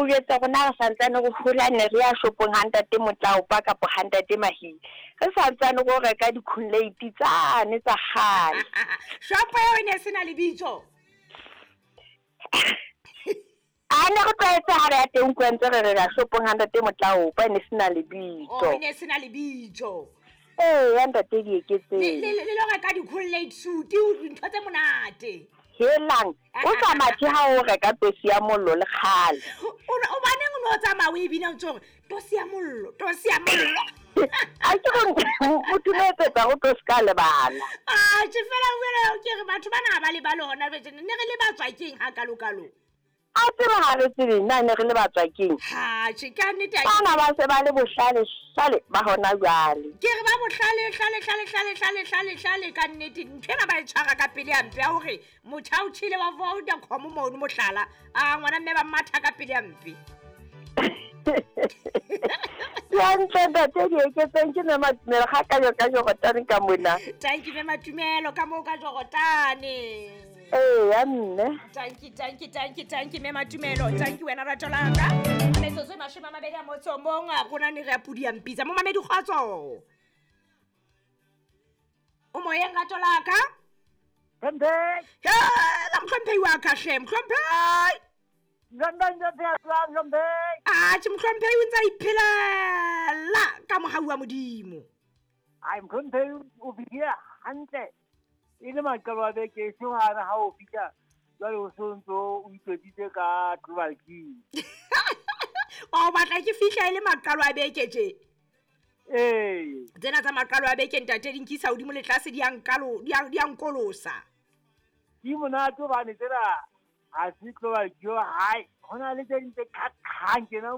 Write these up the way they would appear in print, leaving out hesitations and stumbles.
jwetsa rona re santsane re hola ne re ya shopong ha ntate Motlaopa kapa ha ntate Mahile. Re santsane go reka di-Kool-Aid tsane tsa kgale. Shopo eo e ne e se na lebitso. A ne re tlwaetse ha re ya teng kwa ntse re re ya shopong ha ntate Motlaopa e ne se na lebitso. Oh, e ne se na lebitso. Ee, ya ntate Dieketseng. Le lo reka di-Kool-Aid suit, dintho tse monate. Helang, o sa mathe ha o reka tosi ya mollo le kgale. O baneng o ne o tsamaya o e bina o ntse hore tosi ya mollo, tosi ya mollo. A ke re motho no etsetsa go tlo se ka lebala. A tjhe fela fela ke re batho bana ha ba lebale hona jwale ne re lebatswa keng ha kalo-kalo? A tsebe ha re tsebe na ne re lebatswa keng. Ha tjhe ka nnete ha ke Bana ba se ba le bohlale hlale ba hona jwale. Ke re ba bohlale hlale hlale hlale hlale hlale hlale ka nnete ntho ena ba e tshwara ka pele hampe ya hore motjha o tjhele wa Vodacom mono mohlala a ngwana mme ba matha ka pele hampe. Hantle ntate Dieketseng ke Mme Matumelo ga ka jo ka Jorotane ka mona. Thank you Mme Matumelo ka moo ka Jorotane. Ee ya mme. Thank you, thank you, thank you, thank you Mme Matumelo. Thank you wena rato la ka. Metsotso e mashome a mabedi a motso o mong rona ne re ya pudi ya mpitsa. Momamedi kgotso. O moyeng rato la ka? Hlomphehi. Hela mohlomphehi wa ka hle, mohlomphehi. Atjhe mohlomphehi o ntse a iphelela ka mohau wa Modimo. Ai mohlomphehi o fihlile hantle e le maqalo a beke e seng hana ha o fihla jwale o se o ntso o itlotsitse ka Global King. O batla ke fihla e le maqalo a beke tje? Ee. Tsena tsa maqalo a beke ntate di nkisa hodimo le tlase di a nkalo di a nkolosa. Di monate hobane tsena ha se Global King hai ho na le tse ding tse qhaqhang tjena o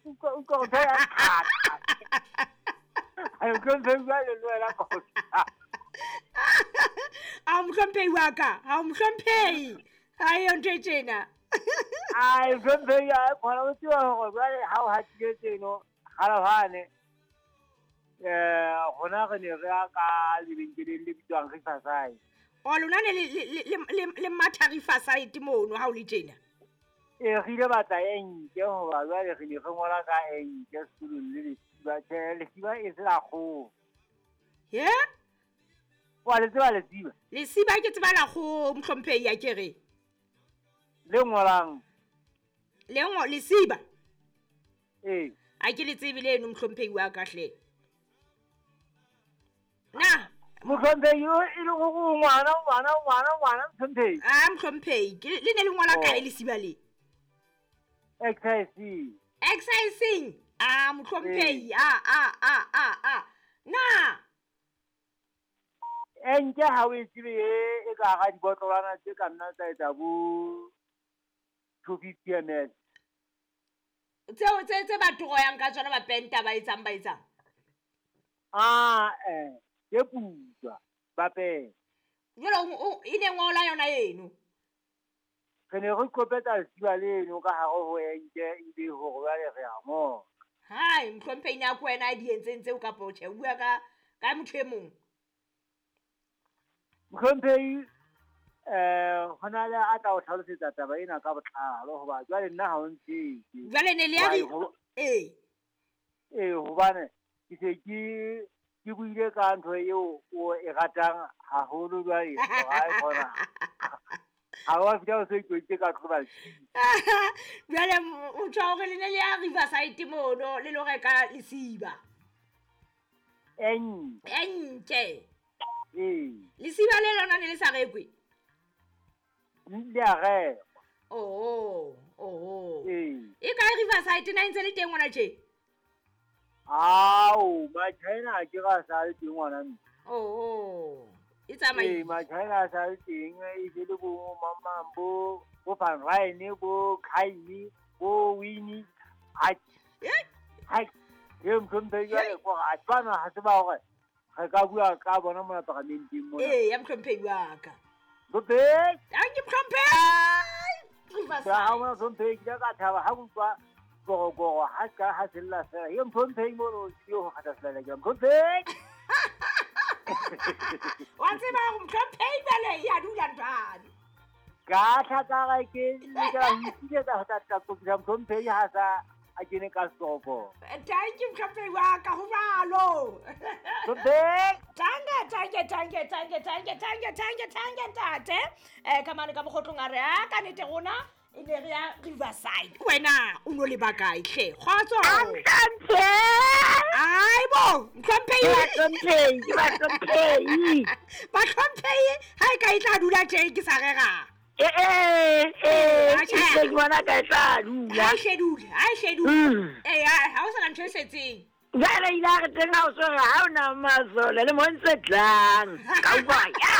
utlwa utlwa ntho ya qhaqa. Ai mohlomphehi jwale le wena ka A mohlomphehi wa ka, ha o mohlomphehi. Ha eyo ntho e tjena. Ai mohlomphehi a khona o tseba hore jwale ha o hatile tseno kgale rona re ne re ya ka lebenkeleng le bitswang Riverside. O lona ne le matha Riverside mono ha o le tjena? Ee, re ile batla enke hoba jwale re ne re ngola ka enke sekolong le lesiba. Tjhe, lesiba e se la kgoho. He? Wa le tseba lesiba? Lesiba ke tseba la kgoho mohlomphehi a ke re. Le ngolang? Le ngo lesiba? Ee. A ke le tsebe leno mohlomphehi wa ka hle. Na mohlomphehi e le hore ngwana ngwana ngwana ngwana mohlomphehi. Ah mohlomphehi, ke le ne le ngola kae lesiba le? Exercising. Exercising. Ah mohlomphehi, a a a a a. Na enke ha o e tsebe e ka hara dibotlolwana tse ka nna tsa etsa bo 250 ml. Tseo tse ba toroyang ka tsona ba penta ba etsang ba etsang. Ah ke putswa ba penta. Jwale o e ne ngola yona eno. Re ne re qopetsa lesiba leno ka hare ho enke ebe hore jwale re a ngola. Hai mohlomphehi na ko wena a di entseng tseo kapa tjhe o bua ka motho e mong? Mohlomphehi hona le a tla o hlalosetsa taba ena ka botlalo hoba jwale nna ha o ntsebe. Jwale ne le ya ee. Ee hobane ke se ke buile ka ntho eo o e ratang haholo jwale ha e khona. Ha wa fihla o se itlotsitse ka Global King. Jwale o tjho hore le ne le ya Riverside mono le lo reka lesiba. Enke. Enke. Ee. Lesiba le lona ne le sa rekwe? Le a rekwa. Oh, oh. Ee. E kae Riverside na e ntse le teng ngwana tje? Ao, Machina a ke ra sa le teng ngwana mme. Oh. E tsamaile. Ee, Machina a sa le teng e se le bo mamang bo Van Ryn bo Khaini bo Winnie. Ai. Ai. E mohlomphehi jwale ko a tshwana ha se ba hore re ka bua ka bona mona paramenteng mona. Ee, ya mohlomphehi wa ka. Mohlomphehi. Thank you mohlomphehi. Riverside. Ha mona mohlomphehi ke ka thaba ha utlwa gorogoro ha ka ha sella fela. Ye mohlomphehi mono ke ho kgatha selala ke mohlomphehi. Wa tseba hore mohlomphehi jwale ya dula ntwane. Ka tlhakara ke lokela ho ipiletsa ho tla kopisa mohlomphehi ha sa a kene ka stofo. Thank you mohlomphehi wa ka, ho jwalo. Hlomphehi. Tanke, tanke, tanke, tanke, tanke, tanke, tanke, tanke, ntate. Ka mane ka mokgotlong a re, a ka nete rona e ne re ya Riverside. Wena o no le ba kae hle? Kgotso. Mohlomphehi. Ai bo, mohlomphehi. Bahlomphehi, ke bahlomphehi. Bahlomphehi ha e ka e tla dula tje ke sa rera. Ee, Atjhe. ke bona ka e tla dula. Ha e hle dule, ha e hle dule. Ha o sana ntho e setseng. Jwale ile a re teng ha o so re ha o na masole le mo ntse tlang. Ka utlwa ya.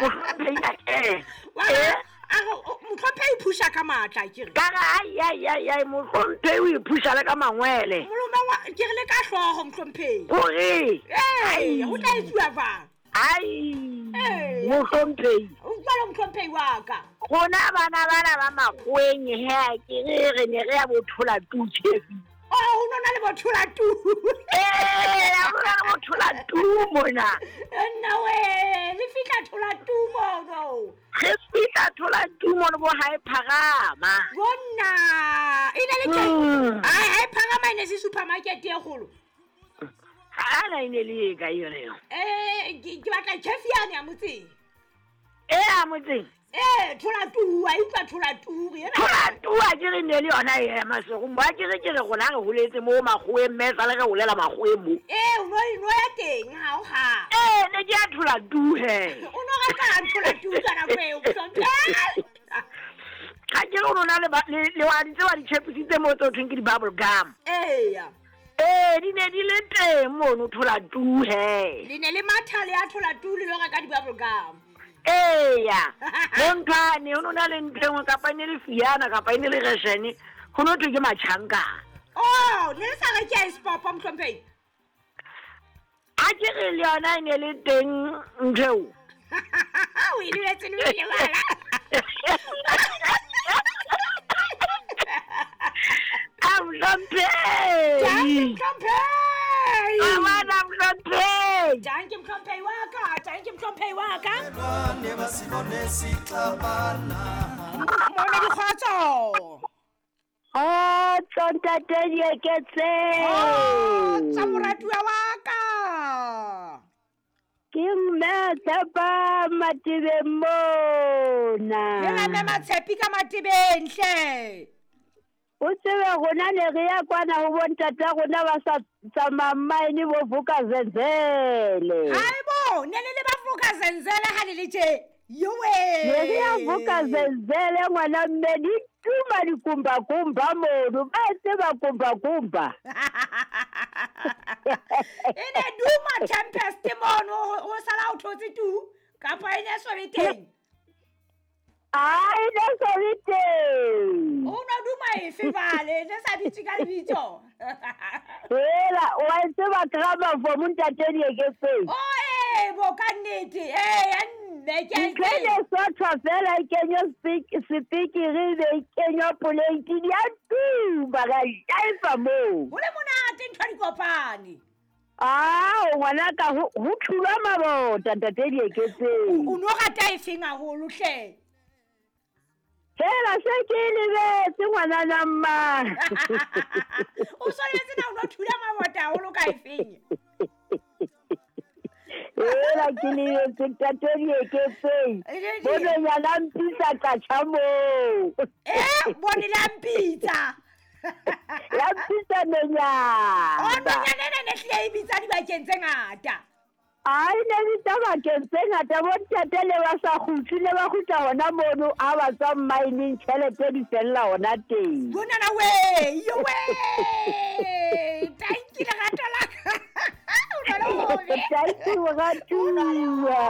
Mohlomphehi a kena. Wa a re mohlomphehi o phusha ka matla ke re. Ka re ai ai ai ai mohlomphehi o iphusha le ka mangwele. Moloma wa ke re le ka hlooho mohlomphehi. Hore. Ee, ho tla etsuwa jwang? Ai. Ee. Mohlomphehi. O jwalo mohlomphehi wa ka. Rona bana bana ba makgoweng he a ke re re ne re ya bo thola tu tjhefi. Oh, ho nona le bo thola tu. Ee, ha ho na le bo thola tu mona. Nna we, le fihla thola tu mono. Re fihla thola tu mono bo ha e pharama. Bonna, e ne le teng. Ai, ha e pharama e ne se supermarket e kgolo. Ha na e ne le e kae yona eo? Ke batla tjhefi yane ya motseng. E ya motseng? Ee, thola tu, a utlwa thola tu, re ena. Thola tu a ke re ne le yona e ya Maseru. Mo a ke re ke re rona re holetse mo makgoweng, mme esale re holela makgoweng mo. Ee, o no ya teng ha o ha. Ee, ne ke ya thola tu he. O no rata thola tu ka nako eo, mohlomphehi. Ha ke re o no na le le wa di tseba di-chips mo tse ho thweng ke di-bubble gum. Eya. Ee, di ne di le teng mono thola tu he. Le ne le matha le ya thola tu le lo reka di-bubble gum. Eya. Bonthwane ho no na le ntho e nngwe kapa e ne le fiana kapa e ne le reshene, ho no thwe ke matjhankana. Oh, ne le sa reke ice pop mohlomphehi? Ha ke re le yona e ne le teng ntho eo. O e lebetse le o e lebala. A mohlomphehi. Dankie mohlomphehi. A bana mohlomphehi. Dankie mohlomphehi wa ka, dankie mohlomphehi wa ka. Momedi kgotso. Kgotso ntate Dieketse. Kgotso moratuwa wa ka. Ke mme Tshepa Matebeng mona. Hela mme Matshepi ka Matebeng hle. O tsebe rona ne re ya kwana ho bontata rona ba sa tsamayang mine bo Vuka Zenzele. Haibo, ne le le ba Vuka Zenzele ha le le tje. Yowe. Ne re ya Vuka Zenzele ngwana mme di tuma dikumbakumba mono, ba tseba kumbakumba. E ne duma Tempest mono ho sala o thotse tu kapa e ne so be teng. Ai, ne so be teng. O no duma efe vale, ne sa bitse ka lebitso. Hela, wa tseba gramophone ntate Dieketseng. Oh, ee, bo ka nnete. Ee, ya nne ke a Ntho e ne sothwa fela e kenywa sepikiri e be e kenywa poleiting ya tuma ra jaifa moo. Ho le monate ntho di kopane. Ao, ngwanaka ho thulwa mabota ntate Dieketseng. O no rata efeng haholo hle? Fela se ke lebetse ngwanana mma. O so lebetse na o no thula mabota haholo ka efeng? Hela ke lebetse ntate Dieketseng. Bononyana mpitsa qatjha moo. Bone la mpitsa. La mpitsa nonyana. Oh, nonyana ena ne hlile e bitsa dibakeng tse ngata. Ai, ne bitsa bakeng tse ngata bontate le ba sa kgutle le ba kgutla hona mono ha ba tswa mmineng tjhelete di fella hona teng. Bonana we, yo we. Thank you lerato la ka. O na le hobe. Thank you moratuwa.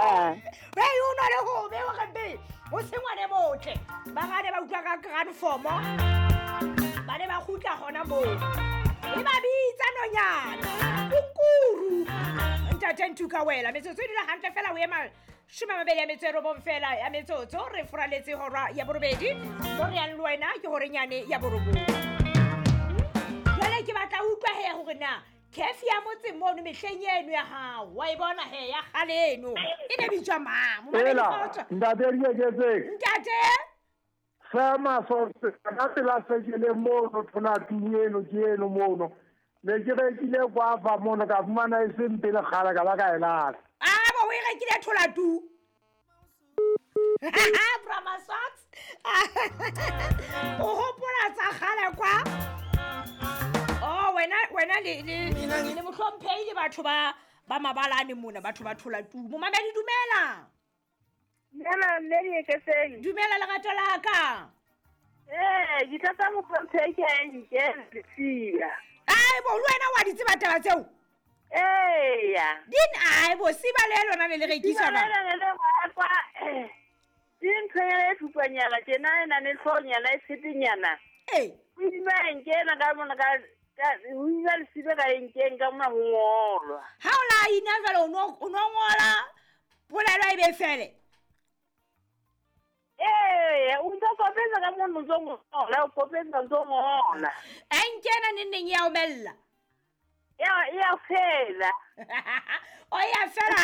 Hey, o na le hobe wa re o se ngwane botle. Ba gane ba utlwa ka grand form. Ba ne ba kgutla hona moo. E ba bitsa nonyana. Kukuru. Ntate Ntuka wela metsotso e dula hantle fela o ema 29 fela ya metsotso re foraletse hora ya borobedi mo re yang le wena ke horenyane ya borobong. Jwale ke batla utlwa he hore na cafe ya motse mo mono mehleng eno ya hao wa e bona he ya kgale eno e ne bitswa mang momamedi kgotso ntate Dieketseng ntate sema so ka pela sekele mono thonatung eno ke eno mono ne ke rekile kwafa mono ka fumana e seng pele kgale ka ba ka e lahla. A bo o e rekile tholatu Brahma socks o hopola tsa kgale kwa oh wena le mohlomphehi le batho ba mabalane mona batho ba tholatu momamedi dumela. Dumela mme Dieketseng. Dumela lerato la ka. Ke tlatsa mohlomphehi ke a nkela lesiba. Ai bo le wena wa di tseba taba tseo? Eya. Din ai bo siba le lona le rekiswa ba. Kwa ke nthonyana e thupanyana tjena e na le hloohonyana e tshepenyana. Ee. O ima nkena ka mona ka o ima lesiba ka nkeng ka mona ho ngolwa. Ha o la ina jwale o no ngola polelo e be fele. Ee, o ntso kopetsa ka mono ntso ngola, o kopetsa ntso ngola. A nkena neng ya omella. Ya fela. O ya fela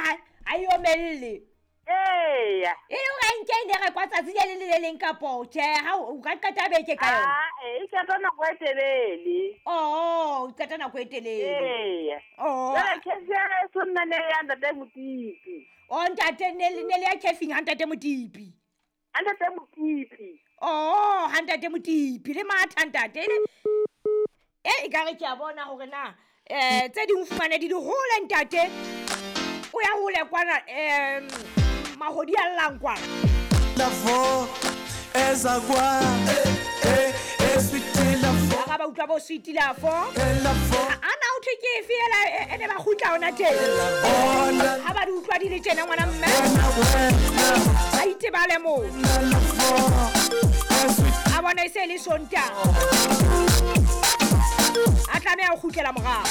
ha e omelle. Eya. E le hore a nke e ne rekwa tsatsi le le le leng kapo tjhe ha o ka qeta beke ka yona. E qeta nako e telele. Oh, o qeta nako e telele. Eya. Oh. Jwale khefi ya so nna ne ya ntate Motipi. Oh, ntate ne le ya khefing ha ntate Motipi. Ntate Motipi. Oh, ha ntate Motipi le matha ntate. E ka re ke a bona hore na tse ding fumane di hole ntate. O ya hole kwana mahodi a llang kwana. Lafo eza kwa sweet lafo. Ba ba utlwa bo sweet lafo. Ana o thwe ke efe ela e ne ba kgutla ona teng. Ha ba di utlwa di le tjena ngwana mme. Ba itebale moo. A bona e se le Sontaha. A tlameha ho kgutlela morao.